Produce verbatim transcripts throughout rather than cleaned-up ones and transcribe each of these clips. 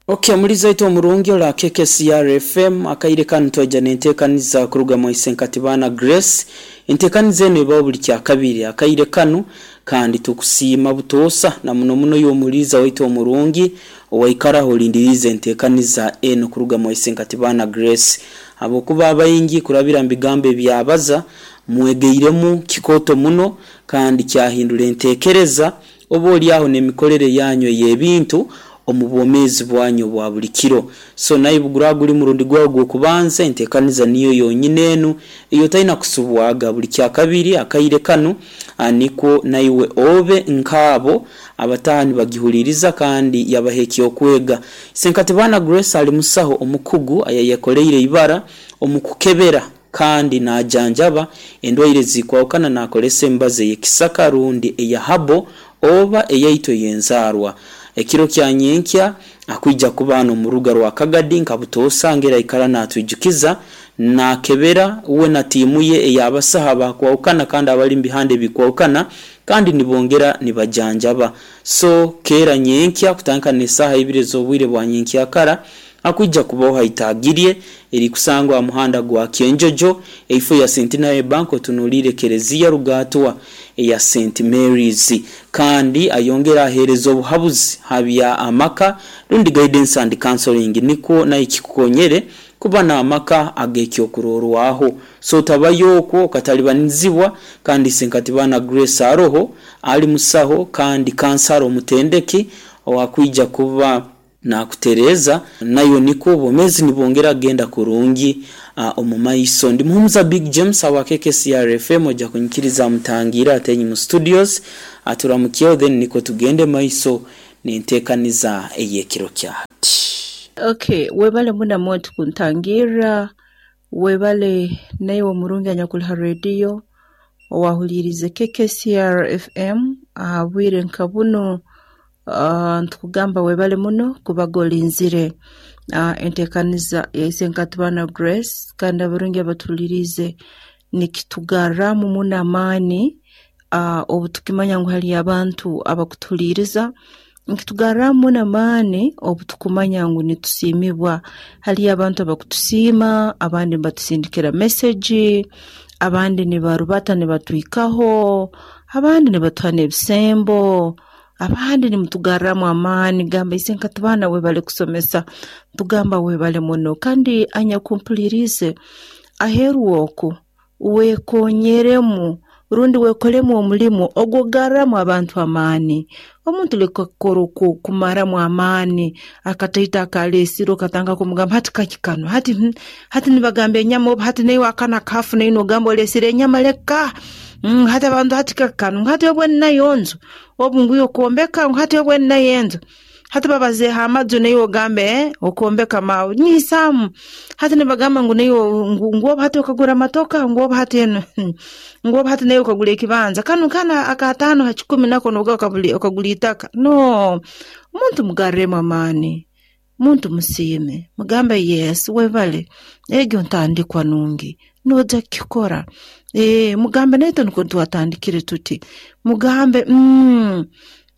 Okay, muliza ito omurungi ola K K C R F M, akaire kanu twaija nentekaniza kuruga mu Isenkatibana Grace. Entekaniza eno ebaho buli kyakabiri akaire kanu, kandi tukusiima butoosa na muno muno y'omuliza waitu omurungi owaikaraho olindiriize entekaniza eno kuruga mu Isenkatibana Grace, habwokuba abaingi kurabira mu bigambo ebyabaza mwegeiremu kikooto muno, kandi kyahindura entekereza oba oliaho n'emikorere yanyu ey'ebintu omu bwomeezi bwanyu obwa buli kiro. So naye buguraba guli murundi gwawe gw'okubanza, entekaniza niyo yonyine enu eyotalina kusubwaga buli kyakabiri akaire kanu, nikwo naiwe obe nkaabo abataha nibagihuliriza kandi yabaha ekyokwega. Isenkatibana Grace ali musaho omukugu ayayekoleire ibara omu kukebera kandi najanjaba endwaire ezikwahukana nakozesa emibazi ey'ekisaka rundi eya herbal oba eyaitu ey'enzaarwa. Ekiro kya nyenkya akwija kuba hanu omu rubuga rwa Kagadi nka butoosa, ngeri aikara natwijukiza, nakebera uwe na tiimu ye ey'abasaho abakwahukana kandi abali mu bihanda ebikwahukana, kandi nibongera nibajanjaba. So keera nyenkya kutandika n'esaaha ibiri ez'obwire bwa nyenkyakara akwija kubaho haitagirye erikusangwa ha muhanda gwa Kyenjojo, eifo ya Centenary Bank, otunuliire Kereziya Rugatwa eya Saint Mary's. Kandi ayongera aheereza obuhabuzi ha bya amaka rundi guidance and counseling, nikwo nayo kikukonyere kuba n'amaka ag'ekyokurorwaho. So otabayo okwo okatalibanizibwa. Kandi Isenkatibana Grace aroho ali musaho kandi kansara omutendeki owakwija kuba nakutereeza nayo, nikwo obwomeezi nibwongera kugenda kurungi omu maiso. Ndi Muhumuza Big James awa K K C R F M. Ojja kunyikiriza mutangiire atenyi mu studios aturamukyeho, then nikwo tugende maiso nenteekaniza ey'ekiro kya hati. Okay, webale muno muntu kuntangirra, webale naiwe omurungi anyakuli ha rediyo owahuliriize K K C R F M aha bwire nka bunu. uh, ntukugamba webale muno kubaga olinzire uh, enteekaniza ya Isenkatibana Grace. Kandi abarungi abatuhuliriize, nikitugarramu muno amaani uh, obu tukimanya ngu haliyo abantu abakutuhuliiriza. Nikitugarramu muno amaani obu tukumanya ngu nitusiimibwa, haliyo abantu abakutusiima, abandi nibatusindikira message, abandi nibarubata nibatwikaho, abandi nibatuha n'ebisembo, abandi nimutugarramu amaani gamba, "Isenkatibana webale kusomesa." Tugamba webale muno. Kandi anyakumpuliriize aheeru oku, weekonyeremu rundi weekolemu omulimu ogw'okugarramu abantu amaani. Omuntu leka kukora kumaramu amaani akataito akaleesire, okatandika kumugamba, "Hati kaki kanu? Hati hmm, hati nibagamba enyama obu, hati naiwe akana kafu naine ogamba oleesire enyama, leka mm, hati abantu, hati kaki kanu, hati obwe ninayo nju, obu nguyo okwombeka, hati obwe ninayo enju, hati babazeeho amaju, naiwe ogambe eh, okwombeka maawe nyiisaamu, hati nibagamba ngu naiwe ngu ngu obu hati okagura amatoka, ngu obu hati eno, ngu obu hati naiwe okagura ekibanja kanu kana akataano ha kikumi nako noga okagura itaka." No omuntu mugarremu amaani, muntu musiime, mugambe, "Yes, webale, egyo ntandikwa nungi, noja kukikora." e, mugambe, "Naitwe nukwo twatandikire tuti." Mugambe, mm,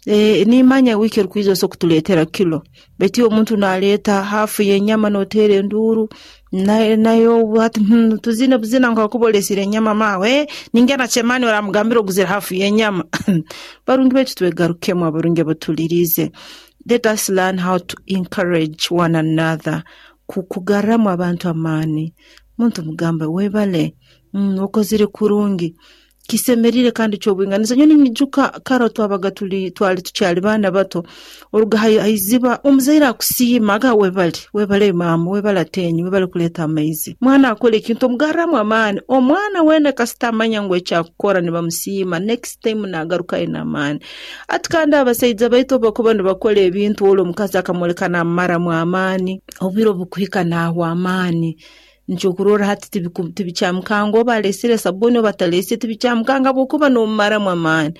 e, nimanya wiiki erukwija osobola kutuleetera kilo." Baitu omuntu naleeta hafu y'enyama noteera enduuru nayo, hati hmm, tuzine buzina nkakuba oleesire enyama maawe, ningena chemani oramugambira oguzire hafu y'enyama. Barungi baitu, twegarukemu. Abarungi abatuhuliriize, let us learn how to encourage one another, kugarramu abantu amaani. Muntu mugambe, "Webale, mm, okozire kurungi, kisemerire kandi kyobwinganiza." Nyowe ninyijuka kara twabaga tuli twali tukyali baana bato, oruga haiziba, omuzaire akusiima aga, "Webale, webale maama, webale atenyi, webale kuleeta amaizi." Mwana akora ekintu, omugarramu amaani. Omwana weena kasita amanya ngu ekyakukora nibamusiima, next time nagarukayo n'amaani. Ati kandi abasaija baitu obu bakuba nibakora ebintu, oli omukazi akamwoleka namumaramu amaani, obwire obukuhika naahwa amaani. Nikyokurorra hati tibikyamukanga oba aleesire sabuni oba ataleesire, tibikyamukanga habwokuba noomumaramu amaani.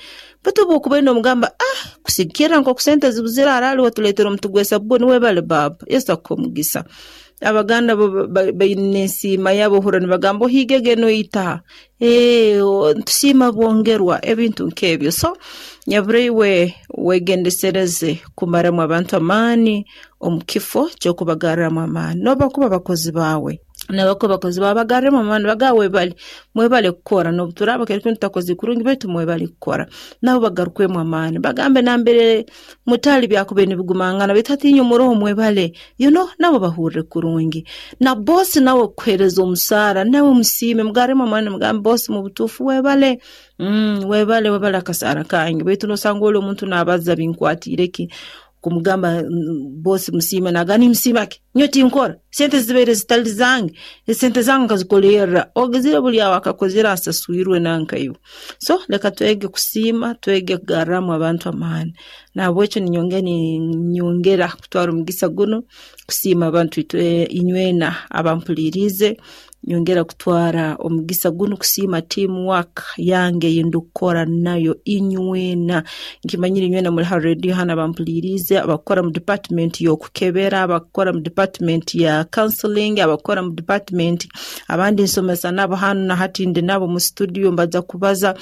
Baitu obu okuba noomugamba, ah, kusigikirra nk'oku sente zibuzire haraali watuleetera omuti gw'esabuni, webale baaba, Yesu akuhe omugisa. Abaganda bo baine ensiima yabo, ohurra nibagamba ohiigege noita, ee ntusiima bwongerwa, ebintu nk'ebyo. So nyabura iwe wegendesereze kumaramu abantu amaani omu kifo ky'okubagarramu amaani, n'obu bakuba bakozi baawe. Nabakuba bakozi baawe bagarremu amaani, bagambe webale, mwebale kukora, n'obu turaaba kiro tutakozire kurungi baitu mwebale kukora. Nabo bagarukwemu amaani, bagambe nambere mutali byakubaire nibigumangana baitu hati inywe muroho mwebale, you know, nabo bahurre kurungi. Na bosi nawe kukuheereza omusaara, nawe musiime, mugarremu amaani, mugambe bosi mu butuufu webale, mm, webale webale akasaara kange, baitu noosanga oli omuntu naabaza binkwatiire ki, kumugamba bosi musiime, naagamba nimusiima ki, nyowe tinkora, sente zibaire zitali zange, esente zange nkazikolerra, ogizire buli aho akakozire asaswirwe nankaiwe. So leka twege kusiima, twege kugarramu abantu amaani. Nahabwekyo ninyongera ninyongera kutwara omugisa gunu kusiima abantu itwe inywena abampuliiriize, nyongera kutwara omugisa gunu kusiima team work yange ei ndukukora nayo inywena. Nkimanyire inywena muli ha radio hanu abampuliiriize, abakukora mu department y'okukebera, abakukora mu department ya counseling, abakukora mu department abandi nsomesa nabo hanu na hati ndi nabo mu studio mbaza kubaza,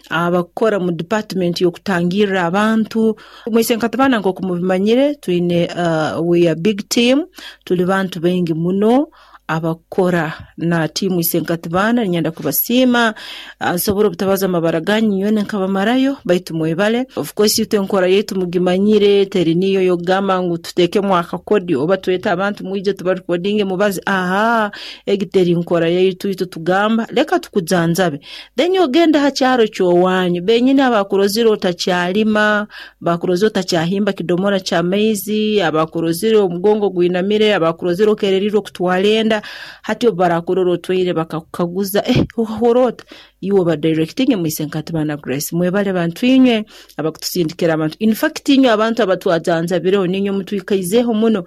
abakukora mu department y'okutangirra abantu. Mwisenkatibana nk'oku mubimanyire twine uh, we are big team, tuli bantu baingi muno abakukora na tiimu Isenkatibana. Ninyenda kubasiima, nsobora obutabaza amabara ganyu nywena nkabamarayo, baitu mwebale. Of course itwe enkora yaitu mugimanyire, teri niyo yokugamba ngu tuteekemu akakodi oba twete abantu mwije tubarekodinge mubaze, aha, egi teri nkora yaitu. Itwe tugamba leka tukujanjabe, then ogende ha kyaro ky'owanyu, benyini abakurozire otakyalima, bakurozire otakyahimba kidomora ky'amaizi, abakurozire omugongo gwinamire, abakurozire okererirwe okutwara enda, hati obu barakurora otwaire bakakukaguza, eh, okahurra ota, iwe obadirectinge mu Isenkatibana Grace. Mwebale bantu inywe abakutusindikira abantu, in fact inywe abantu abatwajanjabireho, niinywe mutwikaizeeho muno.